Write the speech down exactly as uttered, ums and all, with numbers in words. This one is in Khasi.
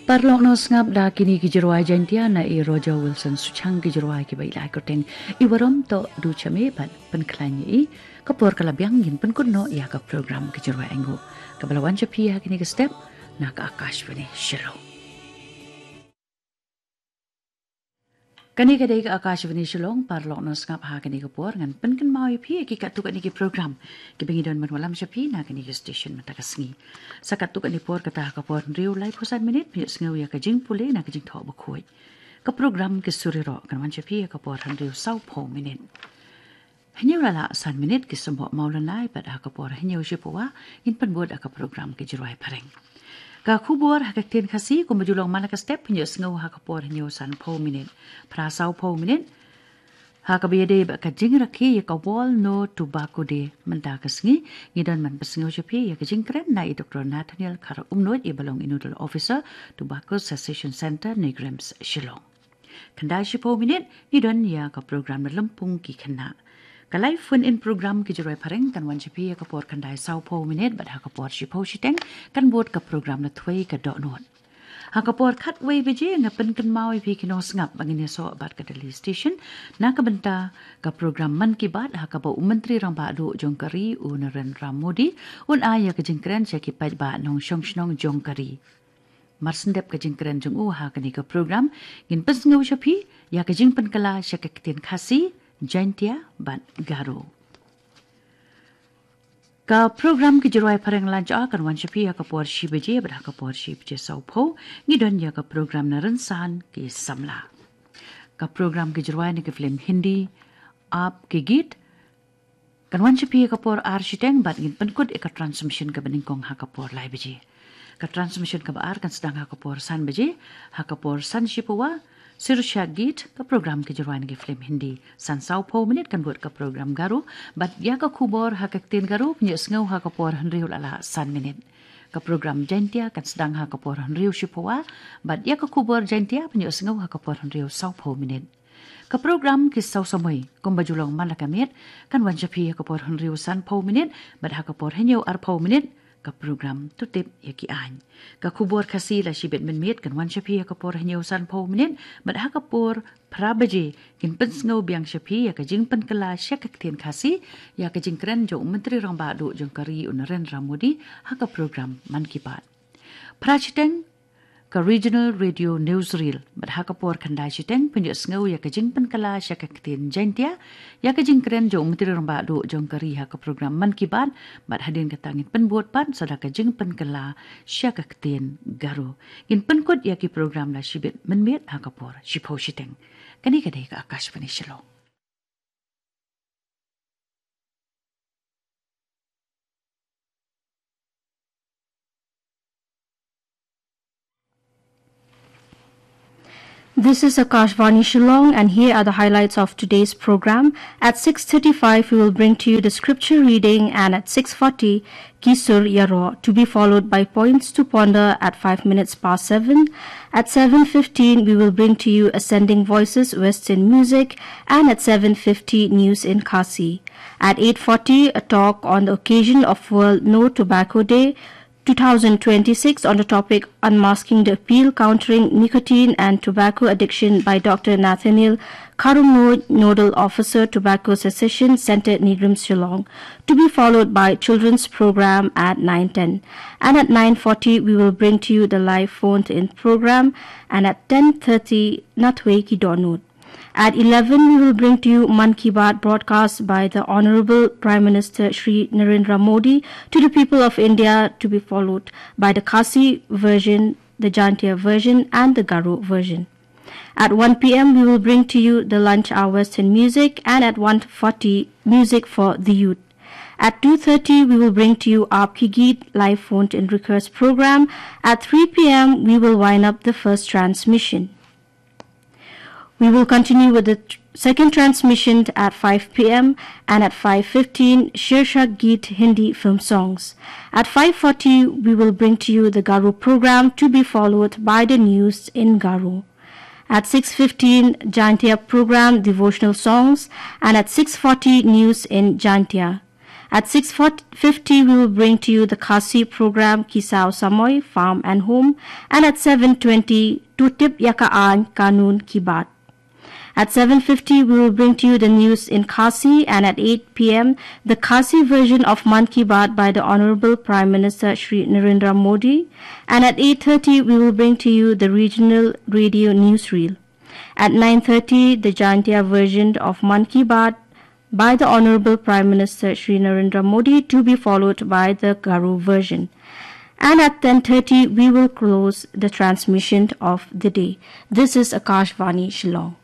Paralok nongsngap, da kine ki jingrwai Jaintia na i Roger Wilson Suchang, ki jingrwai kiba i la ai kyrteng I Warom Toh Du Chame bad Pynkhlaiñ Ïa I. Ka por ka la biang, ngin pynkut noh ïa ka program ki jingrwai ainguh kaba la wan sha phi ha kine ki step na ka Akashvani Shillong. Kane ka dei ka Akashvani Shillong. Paralok nongsngap, ha kane ka por ngan pynkynmaw ïa phi ïa ki katto katne ki program kiba ngi don ban wallam sha phi na kane ka station mynta ka sngi. Sa katto katne por, kata ha ka por hynriew laiphew san minit, phin ïohsngew ïa ka jingpule na ka Jingthoh Bakhuid. Ka program Ki Sur Ïaroh kan wan sha phi ha ka por hynriew sawphew minit. Hynñiew la lah san minit, Ki Symboh Mawlynnai, bad ha ka por hynñiew shiphew wei ngin pynbud ïa ka program Ki Jingrwai Phareng. Ka khubor ha ka ktien Khasi kumba ju long man la ka step, phin ïohsngew ha ka por hynñiew sanphew minit. Phra sawphew minit, ha kaba ïadei bad ka jingrakhe ïa ka World No Tobacco Day mynta ka sngi, ngi don ban pynsngew sha phi ïa ka jingkren na i Doktor Nathaniel Kharumnuid, iba long i Nodal Officer, Tobacco Cessation Centre, NEIGRIHMS, Shillong. Khyndai shiphew minit, ngi don ïa ka program Na Lympung Ki Khynnah. Ka live phone-in program Ki Jingrwai Phareng kan wan sha phi ha ka por khyndai sawphew minit, bad ha ka por shiphew shiteng kan bud ka program Na Thwei Ka Dohnud. Ha ka por khatwei baje, nga pynkynmaw ïa phi ki nongsngap ba ngin ïasoh bad ka Delhi Station na ka bynta ka program Mann Ki Baat, ha kaba u Myntri Rangbah Duh jong ka ri, u Narendra Modi, un ai ïa ka jingkren sha ki paidbah nongshong shnong jong ka ri. Mar syn dep ka jingkren jong u ha kane ka program, ngin pynsngew sha phi ïa ka jingpynkylla sha ka ktien Khasi, Jaintia bad Garo. Ka program Ki Jingrwai Phareng Lunch Hour kan wan sha phi ha ka por shi baje bad ha ka por shi baje sawphew ngi don ïa ka program Na Rynsan Ki Samla. Ka program Ki Jingrwai na ki film Hindi, Aap Ke Geet, kan wan sha phi ha ka por ar shiteng, bad ngin pynkut ïa ka transmission kaba nyngkong ha ka por lai baje. Ka transmission kaba ar kan sdang ha ka por san baje, ha ka por san shiphew wei, Sheershaak Geet, ka program Ki Jingrwai na ki film Hindi. San sawphew minit kan bud ka program Garo, bad ïa ka khubor ha ka ktien Garo phin ïohsngew ha ka por hynriew la lah san minit. Ka program Jaintia kan sdang ha ka por hynriew shiphew wei, bad ïa ka khubor Jaintia phin ïohsngew ha ka por hynriew sawphew minit. Ka program Ki Saw Samoi kumba ju long man la ka miet kan wan sha phi ha ka por hynriew sanphew minit, bad ha ka por hynñiew arphew minit ka program To Tip Ïa Ki Aiñ. Ka khubor Khasi la shibit mynmiet kan wan sha phi ha ka por hynñiew sanphew minit, bad ha ka por phra baje ngin pynsngew biang sha phi ïa ka jingpynkylla sha ka ktien Khasi ïa ka jingkren jong u Myntri Rangbah Duh jong ka ri, u Narendra Modi, ha ka program Mann Ki Baat. Phra shiteng, ka Regional Radio Newsreel, bad ha ka por khyndai shiteng phin ïohsngew ïa ka jingpynkylla sha ka ktien Jaintia ïa ka jingkren jong u Myntri Rangbah Duh jong ka ri ha ka program Mann Ki Baat, bad hadien kata ngin pynbud pat sa da ka jingpynkylla sha ka ktien Garo. Ngin pynkut ïa ki program la shibit mynmiet ha ka por shiphew shiteng. Kane ka dei ka Akashvani Shillong. This is Akashvani Shillong, and here are the highlights of today's program. At six thirty-five, we will bring to you the scripture reading, and at six forty, Ki Sur Ïaroh, to be followed by Points to Ponder at five minutes past seven. At seven fifteen, we will bring to you Ascending Voices Western Music, and at seven fifty, News in Khasi. At eight forty, a talk on the occasion of World No Tobacco Day two thousand twenty-six on the topic Unmasking the Appeal, Countering Nicotine and Tobacco Addiction by Doctor Nathaniel Kharumnuid, Nodal Officer, Tobacco Cessation Centre, NEIGRIHMS, Shillong, to be followed by children's program at nine ten. And at nine forty, we will bring to you the live phone-in program, and at ten thirty, Na Thwei Ki Dohnud. At eleven, we will bring to you Mann Ki Baat, broadcast by the Honorable Prime Minister Shri Narendra Modi, to the people of India, to be followed by the Khasi version, the Jaintia version, and the Garo version. At one p.m., we will bring to you the lunch hour Western music, and at one forty, music for the youth. At two thirty, we will bring to you Aap Ki Geet live phone-in request program. At three p.m., we will wind up the first transmission. We will continue with the tr-, second transmission at five p.m., and at five fifteen, Sheershaak Geet Hindi film songs. At five forty, we will bring to you the Garo program, to be followed by the news in Garo. At six fifteen, Jaintia program, devotional songs, and at six forty, news in Jaintia. At six fifty, we will bring to you the Khasi program, Kissaw Samoi, Farm and Home. And at seven twenty, To Tip Ïa Ka Aiñ Kanun Ki Baat. At seven fifty, we will bring to you the news in Khasi, and at eight p m, the Khasi version of Mann Ki Baat by the Honorable Prime Minister Shri Narendra Modi. And at eight thirty, we will bring to you the regional radio newsreel. At nine thirty, the Jaintia version of Mann Ki Baat by the Honorable Prime Minister Shri Narendra Modi, to be followed by the Garo version. And at ten thirty, we will close the transmission of the day. This is Akashvani Shillong.